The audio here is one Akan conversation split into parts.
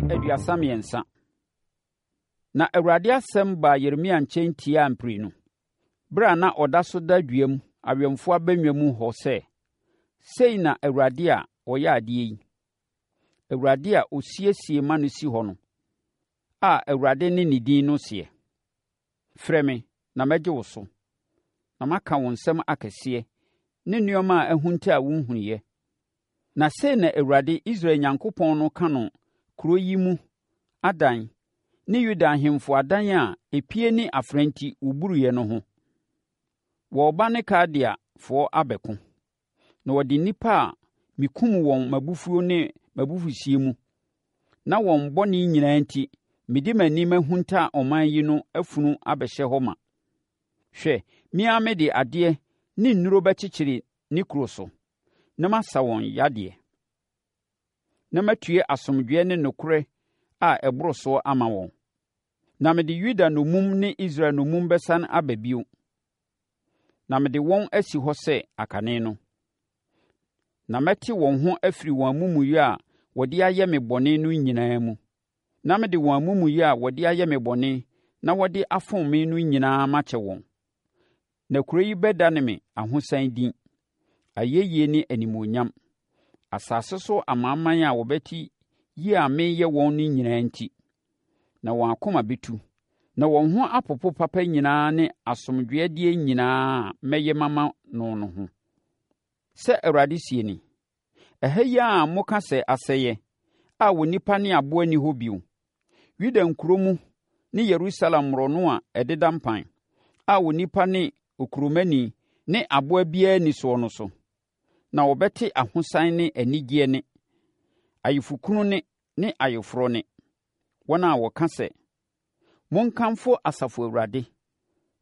33. Na Awurade asɛm baa Yeremia nkyɛn tiaa mprenu, berɛ a na ɔda so da dua mu awɛmfoɔ abannwa mu hɔ sɛ, Sei na Awurade a ɔyɛ adeɛ yi, Awurade a ɔsiesie ma no si hɔ no, a Awurade ne ne din no seɛ, Frɛ me, na mɛgye wo so, na maka wo nsɛm akɛseɛ ne nneɛma a ahunta a wonhunuiɛ. Na sei na Awurade, Israel Nyankopɔn no ka no kuro yi mu adan ne Yuda ahemfo adan a epie ne afena nti wɔburuiɛ no ho. Wɔreba ne Kaldeafoɔ abɛko, na wɔde nnipa a mekum wɔn m'abufuo ne m'abufuhyeɛ mu, na wɔn bɔne nyinaa nti mede m'ani mahunta ɔman yi no afunu abɛhyɛ hɔ ma. Hwɛ, me ara mede adeɛ ne nnuro bɛkyekyere ne kuro so, na masa wɔn yadeɛ, na matue asomdwoeɛ ne nokorɛ a ɛboro soɔ ama wɔn. Na mede Yuda nnommum ne Israel nnommum bɛsane aba bio, na mede wɔn asi hɔ sɛ akane no. Na mɛte wɔn ho afiri wɔn amumuyɛ a wɔde ayɛ me bɔne no nyinaa mu, na mede wɔn amumuyɛ a wɔde ayɛ me bɔne na wɔde afom me no nyinaa makyɛ wɔn. Na kuro yi bɛdane me ahosan din, ayɛyie ne animuonyam, asase so amanaman a wɔbɛte yie a mereyɛ wɔn no nyinaa nti. Na wɔn akoma bɛtu, na wɔn ho apopo papa nyinaa ne asomdwoeɛdeɛ nyinaa a mɛyɛ mama no no ho. Sɛ Awurade seɛ ni, Ɛha yi ara a moka sɛ asɛeɛ, a onipa ne aboa nni hɔ bio, Yuda nkuro mu ne Yerusalem mmorɔno a ɛdeda mpan, a onipa ne okuromani ne aboa biara nni soɔ no so, na wɔbɛte ahosan ne anigyeɛ nne, ayeforɔkunu nne ne ayeforɔ nne, wɔn a wɔka sɛ, 'Monkamfo Asafo Awurade,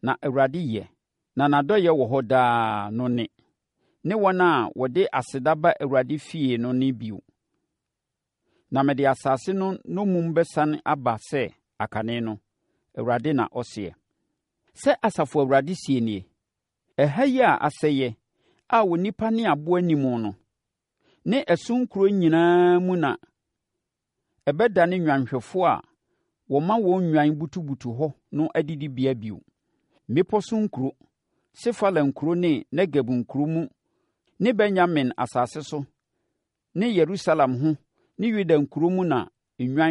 na Awurade yɛ, na n'adɔeɛ wɔ hɔ daa' no nne, ne wɔn a wɔde aseda ba Awurade fie no nne bio. Na mede asase no nnommum bɛsane aba sɛ akane no, Awurade na ɔseɛ. Sɛ Asafo Awurade seɛ nie, Ɛha yi a asɛeɛ, a onipa ne aboa nni mu no, ne ɛso nkuro nyinaa mu na ɛbɛdane nnwanhwɛfoɔ a wɔma wɔn nnwan butubutu hɔ no adidibea bio. Mmepɔ so nkuro, Sefela nkuro ne Negeb nkuro mu ne Benyamin asase so ne Yerusalem ho ne Yuda nkuro mu na nnwan